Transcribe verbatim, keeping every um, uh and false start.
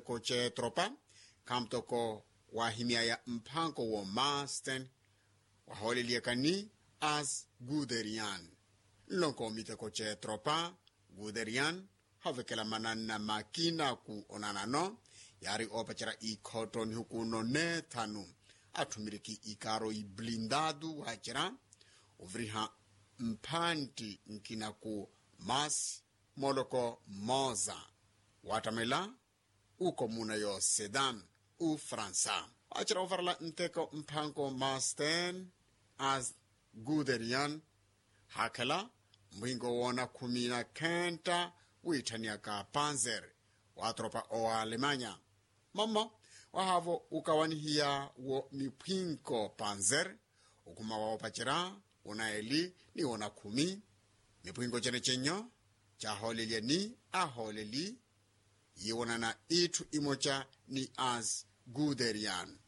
miteko c'etropa, khamu toko wahimyaya mphanko wo masten wahooleliyaka ni as guderian. Nlonko miteko c'etropa guderian, havekela mananna makina ku onanano, yaari oopacerya ikhotto nihukuno neethanu, atthumiriki ikaaro iblindadu waacerya oviriha mphantti nkina ku mas moloko moza, waattamela ukomuna yo sedan, ufransa. Waacerya ovarala nteko mphanko masten as guderian, haakhela mpwinko woona khumi na khentta, wiitthaniaka panzer wa tropa owa alemanya. Mama wahaavo ukawanihiya wo miphwinko panzer, ukhuma wa opacerya wona eli ni wona khumi, miphwinko cene cenyo caahoolelya ni ahooleli yiiwonana itthu imoca ni as guderian.